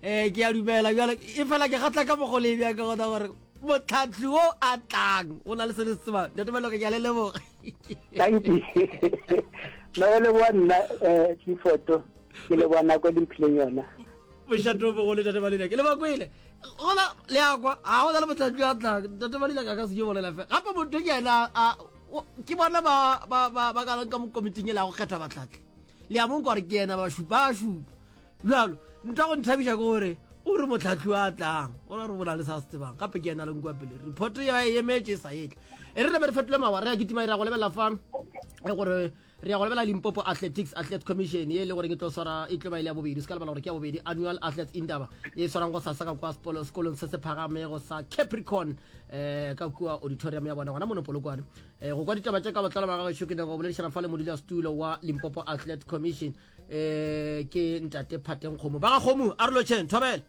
um ke a dumela bjale e fela ke gatla ka mogo le bjang ka gona gore motlhatlhi o a tlang o na le se le se tsebang. Ntate Maloka, ke a le leboga. Thank you. Nna go leboga nna um Clifford, ke leboga nako e le mphileng yona. Mošate o mogolo Tate Malila, ke le ba kwele. Gona le a kwa, ga go na le motlhatlhi a tlang. Tate Malila ka ka se ke bolela fela. Gape motho ke yena a ke bona ba ba ba ba ka ka mo komiting e la go kgetha batlhatlhi. Le a mo kwa gore ke yena ba šupa a šupa. Bjalo, ntho ya go nthabiša ke gore o re motlhatlhi a tlang o ra re bo na le sa se tsebang gape ke yena le nkwa pele report ya e emetše e sa etle e re name re fetole mawa re ya kitima e ra go lebelela fa e gore re ya go lebelela Limpopo Athletics Athlete Commission ye e le gore e tlo swara e tlo ba ile ya bobedi se ka lebala gore ke ya bobedi annual athletes indaba e swarang go sasa ka kwa sekolong se se phagamego sa Capricorn eh ka kua auditorium ya bona gona mono Polokwane eh go kwa ditaba tše ka botlalo ba gagešo ke nyaka go boledišana fa le modulasetulo wa Limpopo Athlete Commission eh ke ntate Phateng Kgomo ba ga Kgomo a re lotšheng thobela.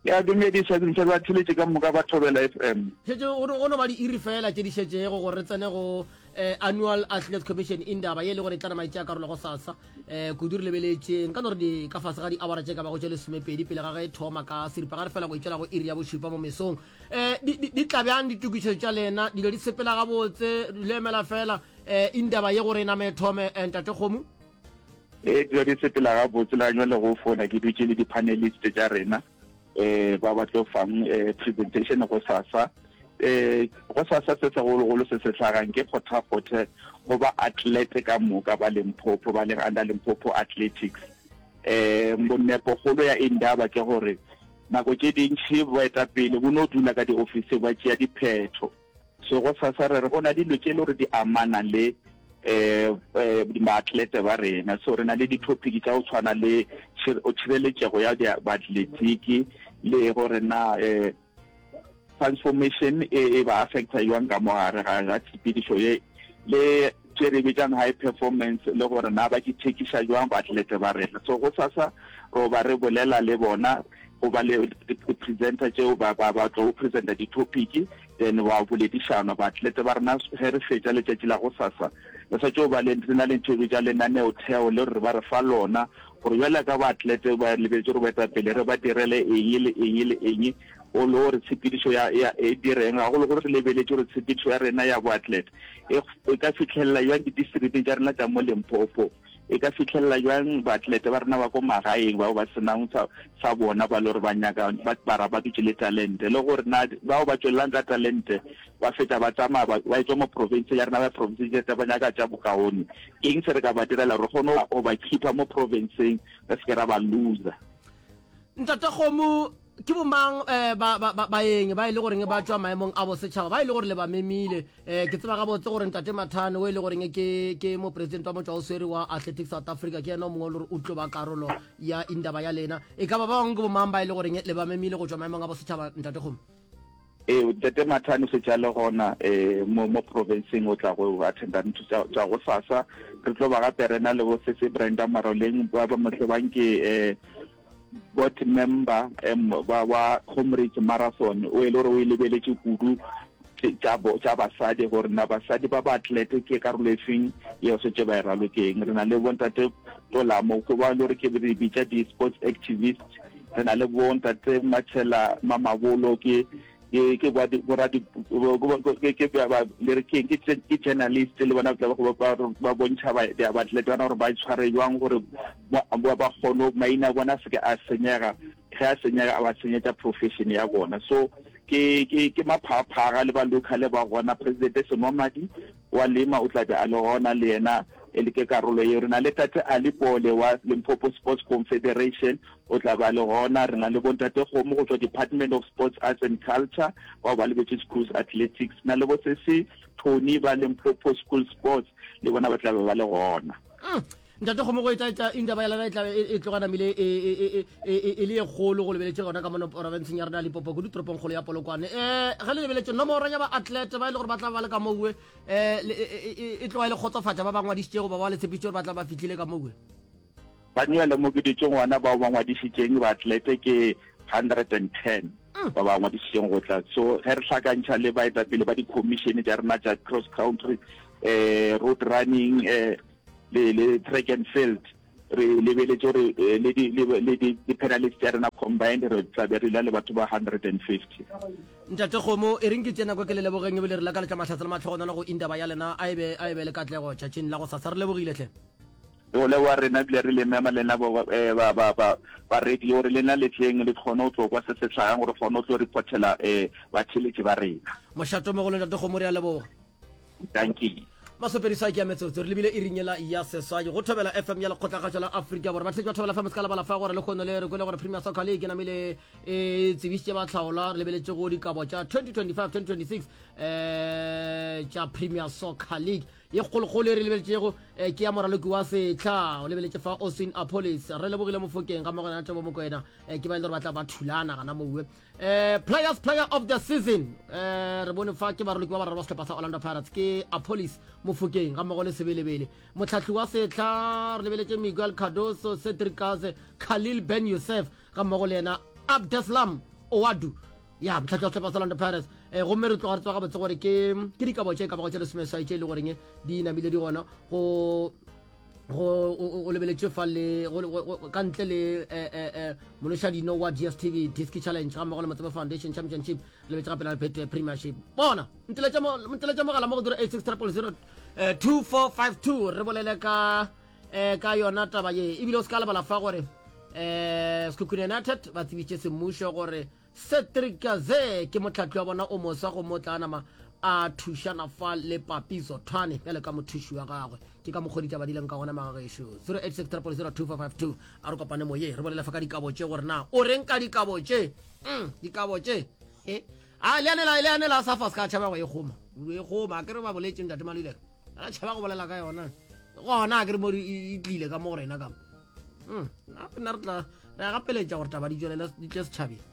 Ke a dumedisa ke ntse ba theletše ka moka ba Thobela FM. Šetše go no go no ba diiri fela tše di šetšego gore re tsene go eh, Annual Athletes Commission Indaba ye e le gore e tla nama e tšea karolo go sasa eh, kudu re lebeletše nka no re di ka fase ga diawara tše ka bago tše lesomepedi pele ga ge e thoma ka seripagare fela go itšwela go iri ya bošupa mo mesong eh, di, di, di tla bjang ditokišo tša lena dilo di sepela gabotse le emela fela eh, indaba ye gore e name e thome eh, ntate Kgomo? Ee, dilo di sepela gabotse le ganywa le go fona ke dutše le di-panelist tša rena um ba ba tlo fang um presentation go sasa um go sasa se segologolo se se hlagang ke kgothakgothe go ba athlete ka moka ba Limpopo ba leng under Limpopo Athletics um bonepogolo ya indaba ke gore nako tše dintši boetapele bo no dula ka diofising ba tšea diphetho So gosasa re re go na dilo tše e le gore di amana le um baatlete ba rena. So re na le di-topic tša go tshwana le tšhireletšego ya baatletiki le gore na um transformation e, e ba affecta jwang ka mo gare ga tshepedišo ye le tše re bitsang high performance le gore na ba di thekiša jwang baatlete ba rena. So gosasa ro ba re bolela le bona go ba le di-presenter tšeo ba ba ba tlo presenta di-topic then wa boledišanwa baatlete ba rena ge re fetša letšatši la gosasa re sa tšo ba le re na le ntho e bitša lenaneotheo le gore ba re fa lona gore bjale ka baatlete ba lebetše gore baetapele re ba direle eng le eng le eng o le gore tshepedišo ya ya e direng gagologolo re lebeletše gore tshepedišo ya rena ya boatlete e, e ka fitlhelela jwang di-districteng tša rena tša mo Limpopo E ka fihlelela bjang baatlete ba rena ba ko magaeng bao ba se nang sa, sa bona ba le gore ba nyaka, ba, ba ra ba dutše le talente, le gore na bao ba tšwelelang ka talente ba fetša ba tsamaya ba, ba etšwa mo provinceng ya rena ba ya provinceng tše ba nyaka tša bokaone. Ke eng se re ka ba direla gore re kgone go ba keeper mo provinceng re se ke ra ba loser? Ntate Kgomo, ke bomang eh, ba, ba, ba, baeng ba e le goreng ba tšwa maemong a bosetšhaba ba e le gore le ba memile? Eh, ke tseba gabotse gore Ntate Mathane o e le goreng ke, ke mopresidente wa motšwaoswere wa Athletics South Africa ke yena o mongwe o le gore o tlo ba karolo ya indaba ya lena. E ka ba ba bangwe ke bomang ba e le goreng le ba memile go tšwa maemong a bosetšhaba, Ntate Kgomo? Ee, Ntate Mathane o šetše a le gona eh, mo, mo provinceng o tla go attenda ntho tša, tša gosasa. Re tlo ba gape re na le bo Sese Brenda Maroleng ba ba mo tsebang ke eh, board member um, wa, wa Comrades Marathon o e le gore o e lebeletše kudu tša tša basadi gore na basadi ba baatlete ke karolo e feng yeo setse ba e ralokeng. Re na le bontate Tolamo ke ba e le gore ke re bitša di-sports activist. Re na le bontate Matshela Mamabolo ke ke ke ba bo ra di ke ke ba le re ke ke ke journalist le bona tla ba ba ba bontšha ba di atlete bana gore ba itshware jwang gore ba ba kgone maina a bona se ke a senyega ge a senyega a ba senyetša profession ya bona so ke ke ke maphaaphaga le ba local ba gona president Senwamadi wa Lema o tla be a le gona le yena e le ke karolo yeo. Re na le Tate Ali Pole wa Limpopo Sports Confederation o tla ba le gona. Re na le bontate Kgomo go tšwa Department of Sports, Arts and Culture bao ba lebetše Schools Athletics. Na le bo Sesi Tony ba Limpopo School Sports le bona ba tla be ba le gona. Mm. Ntate Kgomo go etsa etsa indaba ya lena e tla e, e tloga namile e, e, e, e, e, e le ye kgolo go lebeletše gona ka mono porofenseng ya rena ya Limpopo kudu toropong kgolo ya Polokwane. Eh ge le lebeletše nomoro ya ba athlete ba e le gore ba tla ba le ka mowe eh le- e, e, e, e tloga e le kgotsofatša ba ba ngwadišitšego ba ba le tshepišitše gore ba tla ba fihlile ka mowe. Ba nywele mo ke dutšeng gona bao ba ngwadišitšeng ba athlete ke 110 ba ba ngwadišitšeng go tla. So ge re hlakantšha le baetapele ba di-commission tša rena tša cross country, eh road running, eh le, le track and field. Re lebeletše gore le di, le, le di, di-panelist tša rena combined re tla be re la le batho ba 150. Ntate Kgomo, e reng ke tše nako ke le lebogeng ebile re lakaletša mahlatse le mahlogonolo go indaba ya lena. A e be, a e be le katlego tšatšing la gosasa. Re lebogile hle. Go leboga rena ebile re le mema lena ba, ba, ba, ba, ba radio gore lena le tleng le kgone go tlo kwa se se hlagang gore kgone go tlo reportela um batheeletši ba rena. Mošato mogolo Ntate Kgomo, re a leboga. Dankie. Masopedi ke a metsotso re lebile iring yela ya seswai go Thobela FM ya Lekgotlakgašo la Afrika Borwa. Batheetši ba Thobela FM se ka lebala fa gore lehono le re kwele gore Premier Soccer League e namile e tsebišitše bahlaolwa re lebeletše go dikabo tša 2025-2026 eh tša Premier Soccer League ye kgolokgolo e re lebeletšego eh, ke ya moraloki wa sehla o lebeletše fa Oswin Appollis re lebogile Mofokeng ga mmogo le Thabo Mokoena eh, ke ba e le gore ba tla ba thulana gana mowe Eh, players player of the season eh, re bone fa ke baroloki ba bararo ba sehlopha sa Orlando Pirates ke Appollis Mofokeng ga mmogo le Sebelebele motlhahli wa sehla re lebeletše Miguel Cardoso Cedric Kaze Khalil Ben Youssef ga mmogo le yena Abdeslam Ouaddou ya motlhahli wa sehlopha sa Orlando Pirates eh, gomme re tloga re tseba gabotse gore ke ke dikabo tše ka bago tše lesomeswai tše e le goreng di namile di gona go go o lebeletše fa le ka ntle le eh, eh, eh, monošadino wa DStv Diski Challenge ga mmogo le Motsebe Foundation Championship lebetše gape la Betway Premiership bona nteletša mogala mo go 086 000 2452 re bolele ka eh, ka yona taba ye ebile o se ka lebala fa gore eh Sekhukhune United ba tsebitše semmušo gore Cedric Kaze ke mohlahli wa bona o moswa gomme o tla nama a thušana fa le Papi Zothwane bjale ka mothuši wa gagwe. Ke ka mokgwa ditaba di leng ka gona magagešo. 0860002452 a re kopane moye re bolele fa ka dikabo tše gore na o reng ka dikabo tše. Mm, dikabo tše. He. A le ane la le ane la sa fa ska tšhaba go e goma. O e goma ke re ba boletše ntate Maluleka. A tšhaba go bolela ka yona. Gona a ke re mo e tlile ka mo go rena ka mo. Mm, nna re tla re a gapeletša gore taba di tšwelele di tle setšhabeng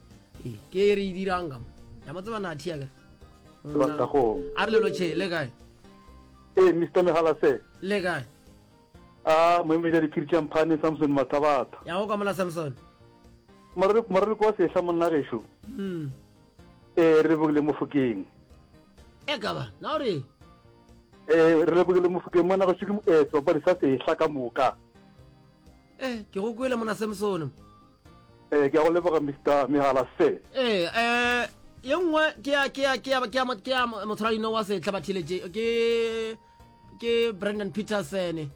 ee ke e re e dirang ka mo ya mo tseba na thia ke a re lelo tšhe le kae ee mr megalase le kae a moemedi a diphiri tša mphane samson mathabatha ya go kwa mola samson moraloko wa sehla monna gešo mm. ee re lebogile mofokeng e ka ba na o re ee re lebogile mofokeng monna gešo ke eh, sebapadi sa sehla ka moka Eh, ke go kwele mona Samson. Eh, ke a go leboga Mr. Megala se. Eh, eh, ye nngwe ke ya ke ya ke ya ke ya ke ya motshwaradino wa setlha ba theletše ke ke Brandon Peterson,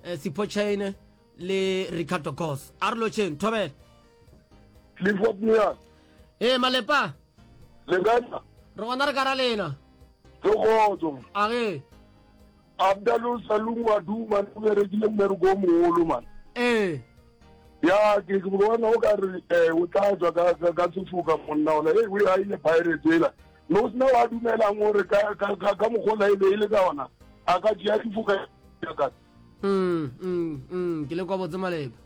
eh, Sipho Chaine le Ricardo Goss. A re lotšheng, thobela. Clifford Mia. Eh, malepa. Le kae? Re gona re ka ra lena. Ke kgotso. A ge. Abdalou Salum wa du man o berekile mmereko o mogolo man. Ee. Ya ke ke bona o ka re eh o tla tswa ka ka ka sefoka monna ona e o ya ile Pirates ela. No sna wa dumelang gore ka ka ka ka mokgola e be e le ka ona a ka tšea difoka ka. Mm mm mm ke le kwa botse maleba.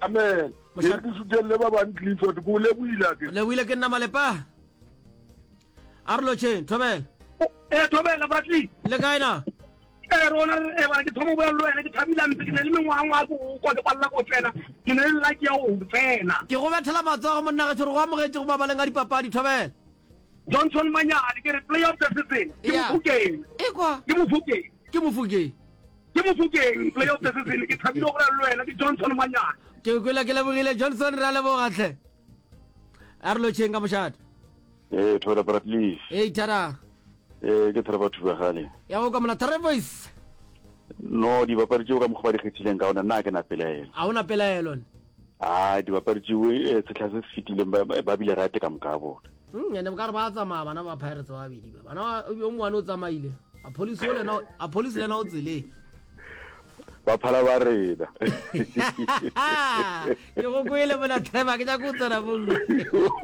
Amen. Ke ke sutelele ba bang Clifford ko leboile ke. Leboile ke nna malepa. A re lotšheng thobela. Eh thobela Bradley. Le kae na? Eh rona eh bana ke thoma go bua le wena ke thabile mpe ke na le mengwangwa ko kwa ke palela go tsena ke ne le lucky ya go tsena. Ke go bethela matsogo monna ge re go amogetše go mabaleng a dipapadi thobela. Johnson Manyane ke re player of the season ke Mofokeng. Ekwa. Ke Mofokeng. Ke Mofokeng. Ke Mofokeng player of the season ke thabile go le wena ke Johnson Manyane. Ke kwele ke lebogile Johnson re a leboga tlhe. A re lotšheng ka mošate. Ee thobela Bradley. Ee thara. Ee ke thara batho ba gale. Ya go ka mona thara voice. No dibapadi tšeo ka mokgwa ba di kgethileng ka ona nna ke na pelaelo. A ona pelaelo. A dibapadi tšeo eh, setlha se se fetileng ba bile rate ka moka bona. Mm, ene ka re ba tsamaya bana ba Pirates ba babedi ba. Bana yo mongwe o tsamaile. A police o lena a police lena o tseleng. Ba phala ba rena. Ke go kwele mona Trevor ke nyaka go tsena mo.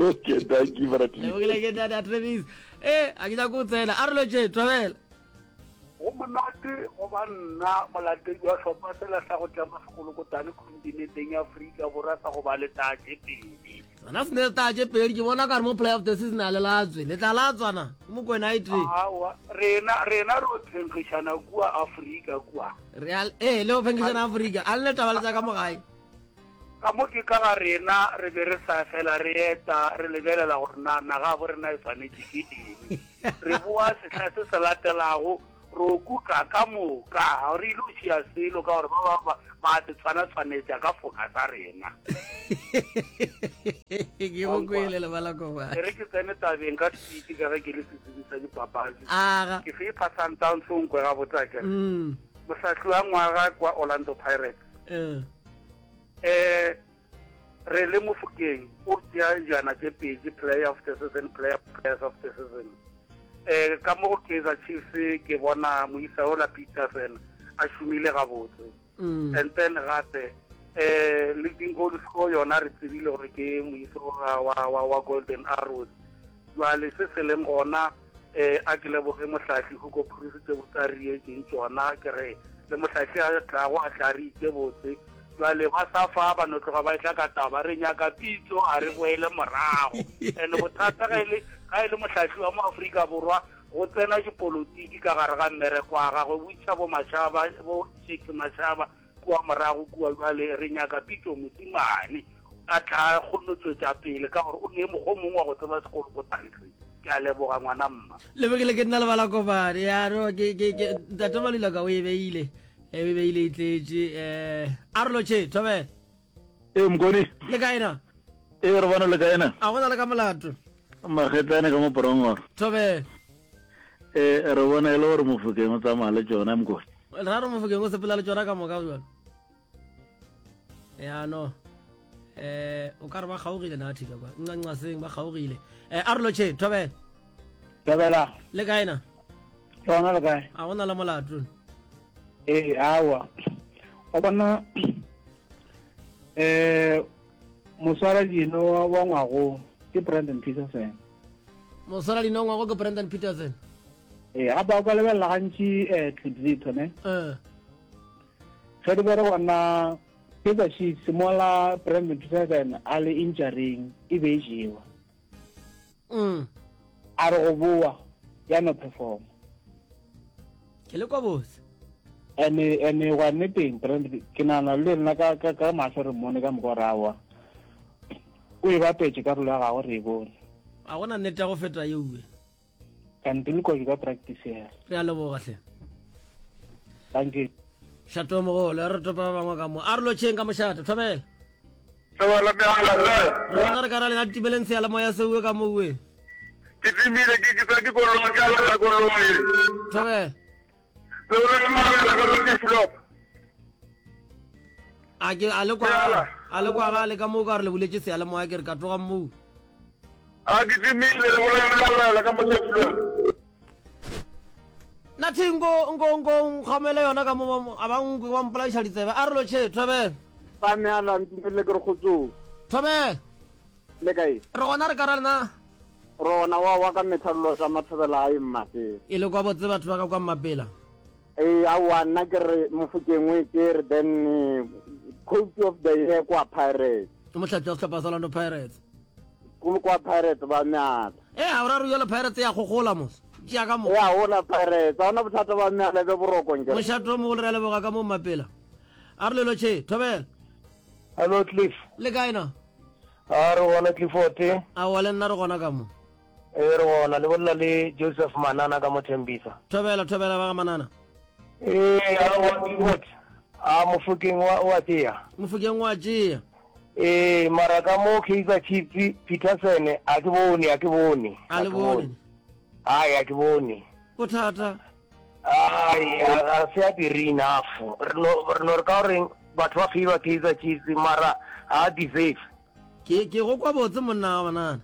Okay, thank you Bradley. Lebogile ke dada Travis. Eh, a ke nyaka go tsena. A re lotše, thobela. Go monate go ba nna molatedi wa hlopha sela sa go tlema sekolokotane khontinenteng ya Afrika Borwa sa go ba le taa tše pedi. Sona se ne le taa tše pedi ke bona ka re mo play of the season a le latswe le tla latswana ke mokwena a itre. Aowa rena rena re o phenkgišana kua Afrika kua. Re a ee le o phenkgišana Afrika a le ne taba le tša ka mo gae. Ka mo ke ka ga rena re be re sa fela re eta re lebelela gore na naga bo rena e swanetše ke eng. Re boa sehla se se latelago. Ro kuka ka moka, ga re ile go tšea selo ka gore ba ba ba ba se tshwana tshwanetša ka foka sa rena. Ke go kwele lebala koba. E re ke tsene tabeng ka speed ka ge ke le setsebi sa dipapadi. Aga. Ke fepa Sundowns o nkwe gabotse akere. Mm. Mohlahli wa ngwaga kwa Orlando Pirates. Eh. Eh re le Mofokeng o tšea dijana tše pedi player of the season player players of the season. Eh ka mo go Kaizer Chiefs ke bona moisa ola Peterson a šomile gabotse. Mm. And then gape eh leading goal score yona re tsebile gore ke moisa wa wa wa, wa Golden Arrows. Jwale se se leng gona eh a ke leboge mohlahli Hugo Broos tše botse a re dietšeng tšona ke re le mohlahli a tlago a tla re itše botse Jwale ba sa fa ba no tloga ba etla ka taba re nyaka pitso a re boele morago. And bothata ga e le ga e le mohlahli wa mo Afrika Borwa go tsena dipolotiki ka gare ga mmereko wa gagwe botša bo Mashaba bo Shakes Mashaba kua morago kua jwale re nyaka pitso Mosimane a tla kgone tšwetša pele ka gore o ne mokgwa o mongwe wa go tseba sekolokotane se. Ke a leboga ngwana mma. Lebekele ke nna lebala kopane ya no ke ke ke ntate Malulaka o e beile. E be ile e tletše um a re lotšhe thobela. Ee Mokone. Le kae na? Ee re bona le kae na? A gona le ka molato. Magetlane ka mo porongoro. Thobela. Ee re bona e le gore Mofokeng o tsamaya le tšona Mokone. Ra re Mofokeng o sepela le tšona ka moka bjalo. Ya no. Eh o ka re ba kgaogile na thika kwa. Ncanca seng ba kgaogile. Eh a re lotšhe thobela. Thobela. Le kae na? Rona le kae? A gona le molato. Ee, awa. Wa bona eh moswara dino wa ngwago ke Brandon Petersen. Moswara dino wa ngwago ke Brandon Petersen. Ee, gape o ka lebelela gantši eh Clipzito ne. Eh. Ge di bere gona Kaizer Chiefs mola Brandon Petersen a le injuring e be e jewa. Mm. A re go boa ya no perform. Ke le kwa botse. Ene ene gwa nneteng Brand ke nana le nna ka ka ka mahlo re mmone ka mokwa rawa. O e bapetše karolo ya gagwe re e bone. A gona nnete ya go feta yeuwe. Kante le kwa ka practice ya. Re a leboga hle. Thank you. Šato mogolo re topa ba bangwe ka mo. A re lotšheng ka mošate thobela. Thobela mehala rre. Re bona re ka ra lena timeleng seyalemoya seuwe ka mowe. Ke timile ke ke tswa ke koloi ke ala koloi. Thobela. Thobela mehala ka ke flop. A ke a le kwa a le kwa ga le ka mo ka re le buletše seyalemoya ke re ka tloga moo. A ke timile le bolela ka mo flop. Nathi nko nko nko nkgamele yona ka mo a ba nkwe ba mpolaiša ditsebe a re lotšhe thobela. Ba meala ntumelele ke re kgotsong. Thobela. Le kae? Re gona re ka ra lena. Rona wa wa ka methallo tsa mathobela a e mmapela. E le kwa botse batho ba ka kwa mmapela. Ee aowa nna ke re Mofokeng o e tšere then coach of the year kwa Pirates. Ke mohlahli wa sehlopha sa Orlando Pirates. Kwa Pirates ba meala. Ee a o ra re jalo Pirates ya gogola mos. Tšea ka mo. Ya gola Pirates. Ga ona bothata ba meala be boroko nkere. Mošate o mogolo re a leboga ka mo Mmapela. A re lelo tšhe thobela. Hello Cliff. Le kae na? A re gona Clifford. Aowa le nna re gona ka mo. Ee, re gona. Le bolela le Joseph Manana ka mo Thembisa. Thobela, thobela ba ga Manana. Ee, aowa Clifford. A Mofokeng wa o a tšea. Mofokeng wa tšea. Ee, mara ka mo Kaizer Chiefs Peterson a ke bone, a ke bone. A le bone. Ai, a ke bone. Bothata. Ai, a se a dire enough. Re no re no re ka goreng batho ba favor Kaizer Chiefs mara ha a deserve. Ke ke go kwa botse monna wa Manana.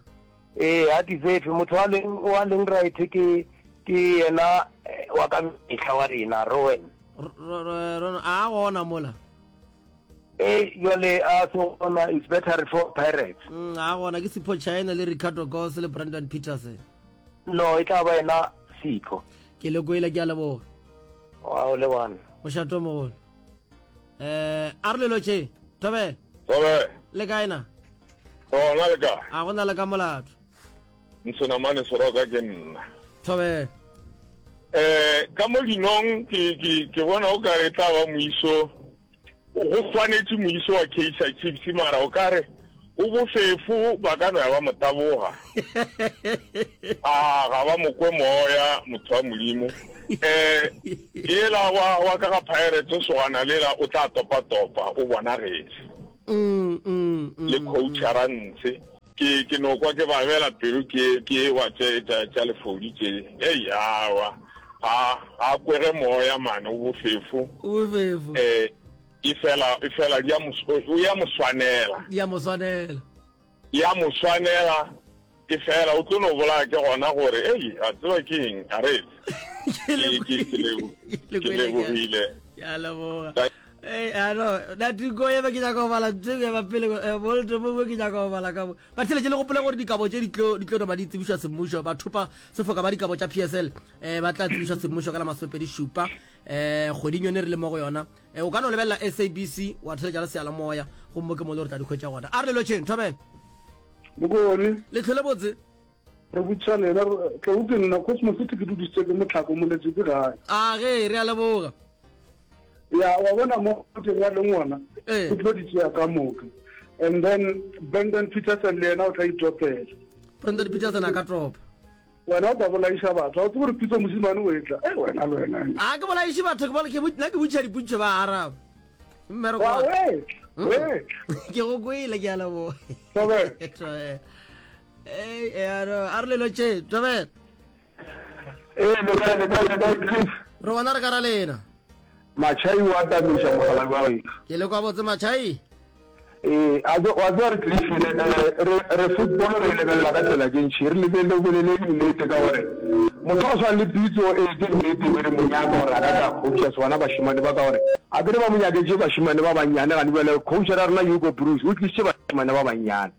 Ee, a deserve. Motho wa leng wa leng right ke ke yena eh, wa ka mehla wa rena Rowan. A gona mola. Ee, jwale a se gona it's better for Pirates. Mm, a gona ke Sipho China le Ricardo Goss le Brandon Peterson. No, e tla ba yena Sipho. Ke le kwele ke a leboga. Wa o lebana. Mošato mogolo. Eh, a re lelo tše, Thobela. Thobela. Le kae na? Gona le kae? A gona le ka molato. Nsonamane Soroka ke nna. Thobela. Eh, ka mo dinong ke ke ke bona o kare tla ba moiso go swanetše moiso wa Kaizer Chiefs mara o kare. O bofefo, ba ka no ya ba mo taboga. A ga ba mo kwe moya, motho wa Modimo. Eh, yela wa, wa ka ga Pirates, sogana lela, o tla topa-topa, o bonagetše. Mm, mm, mm, Le coach mm. Arantse. Ke, ke no kwa ke babela pelo ke, ke wa tše, tša, tša lefodi tše. Ei, awa. Ga, ga kwege moya, mane, o bofefo. O bofefo. Eh, Efela, efela di a mo, o ya mo swanela. Di a mo swanela. Ya mo swanela, efela o tlo no bolaya ke gona gore, ei, a tseba ke eng, a re, Ke le ke, ke, ke lebo, le ke kwele ke lebogile. ke a leboga. Ei, a no, Natiko ye be ke nyaka go bala ntho e ba pele, eh, Bolt mongwe ke nyaka go bala ka mo. Batheeletši le gopole gore dikabo tše di tlo, di tlo nama di tsebišwa semmušo, bathopa sefoka ba dikabo tša PSL, eh, ba tla tsebišwa semmušo ka la masomepedi šupa, eh, kgweding yone re le mo go yona. E, o ka no lebelela SABC wa theletša le seyalemoya gomme ke mo le gore tla di hwetša gona. A re le lotšheng, thobela. Bokone. Le tlhole botse. Re botšiša lena, tlou ke nna Cosmo City ke dudisitse ke motlhako moletse ke gae. A ge, re a leboga. Ya, wa bona mo teng wa leng gona, Ee. o tlo di tšea ka moka. And then Brandon Petersen le yena o tla itopela. Brandon Petersen a ka topa. Wena o ka bolaiša batho. Ga o tsebe gore Pitso mošemane o etla. Ei, wena le wena. A ke bolaiše batho, ke bol- ke bo- nna ke botšiša dipotšišo ba araba. Mmereko Wa wa ka. wetla, wetla. Ke go kwele, ke a leboga. Thobela. Thobela. Ei, e a no, a re le lotšheng, thobela. Ee, le kae, le kae, le kae, Cliff? Re gona re ka ra lena. Machai o atamiša mogala wa wena. Ke le kwa botse Machai. Ee, a tse- wa tseba re Cliff, re, re, re football re e lebelela ka tsela tše ntši, re lebelele bolele nnete ka gore motho wa go swana le Pitso ee ke nnete be re mo nyaka gore a ka tla coacha sona bašemane ba ka gore a ke re ba mo nyaketše bašemane ba bannyane gane bjale coach ya rena Hugo Broos o tlišitše bašemane ba bannyane.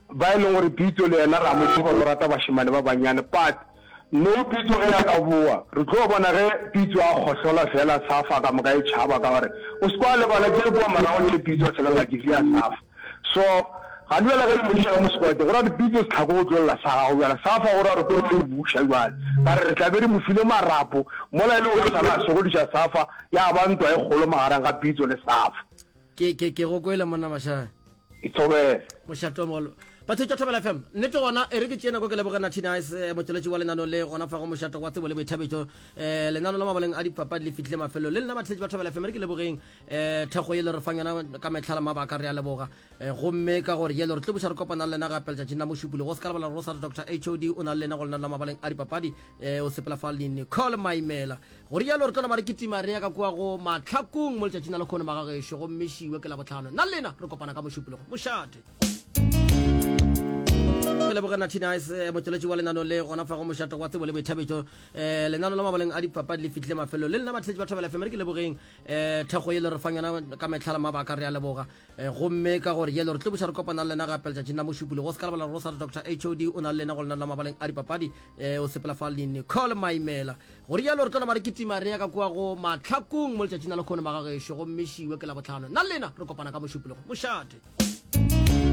Ba e leng gore Pitso le yena re a mo tseba gore o rata bašemane ba bannyane but no Pitso ge a ka bowa re tlo bona ge Pitso a kgohlola fela Safa ka moka e tšhaba ka gore o se kwa lebala tše kua morago tše Pitso a selela ke ya Safa so gane bjale ge e mo iša ka mo squad go ra gore Pitso setlhako go tlo lla sa gago bjale Safa go ra gore tlo e buša bjale ka re re tla be re mo file marapo mola e le gore sala a sokodiša Safa ya ba ntwa e kgolo magareng ga Pitso le Safa. Ke ke ke go kwele monna Mashaya. Ithobele. Mošate o mogolo. Batho tša Thobela FM. Nnete gona e re ke tšee nako ke leboge Nathi Nice eh, motšweletši wa lenano le gona fa go mošate wa tsebo le boithabišo. Eh, lenano la mabaleng a dipapadi le fihlile mafelelo. Le lena batheletši ba Thobela FM re ke lebogeng eh, thekgo ye le re fang yona ka mehla le mabaka re a leboga. Eh, gomme ka gore yelo re tlo buša re kopana le lena gape letšatšing la Mošupologo. O se ka lebala gore o sa re Dr. HOD o na le lena go lenano la mabaleng a dipapadi eh, o sepela fa le Nicole Maimela. Go rialo re tlo nama re kitima re ya ka kua go Mahlakung mo letšatšing la lekhono magagešo gomme šiwe ke Labohlano. Nna le lena re kopana ka Mošupologo. Mošate. Ke leboge Nathi Nice eh, motšweletši wa lenano le gona fa go mošate wa tsebo le boithabišo. Eh, lenano la mabaleng a dipapadi le fihlile mafelelo. Le lena batheletši ba Thobela FM re ke lebogeng eh, thekgo ye le re fang yona ka mehla le mabaka re a leboga. Eh, gomme ka gore yelo re tlo buša re kopana le lena gape letšatšing la Mošupologo. O se ka lebala gore o sa re Dr. HOD o na le lena go lenano la mabaleng a dipapadi eh, o sepela fa le Nicole Maimela. Go rialo re tlo nama re kitima re ya ka kua go Mahlakung mo letšatšing la lekhono magagešo gomme šiwe ke Labohlano. Nna le lena re kopana ka Mošupologo. Mošate.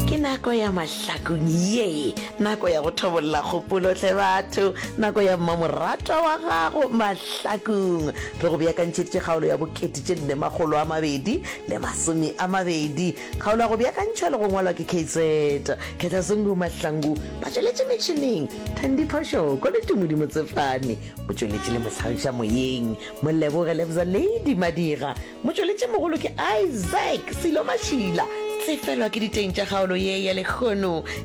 Ke nako ya Mahlakung ye, nako ya go thobolla kgopolo hle batho, nako ya mmamoratwa wa gago Mahlakung. Re go beakantšheditše kgaolo ya bokete tše nne makgolo a mabedi le masome a mabedi. Kgaolo ya go beakantšhwa le go ngwalwa ke KZ Khetha Zungu Mahlangu ba tšweletše metšhineng, Thandi Phoshoko le Tumodi Motsefane. O tšweletše le mohlagiša moyeng, Moleboge Lebza Lady Madira. Motšweletšimogolo ke Isaac Silo Mašila. Tsefelwa ke diteng tša kgaolo ye ya lehono.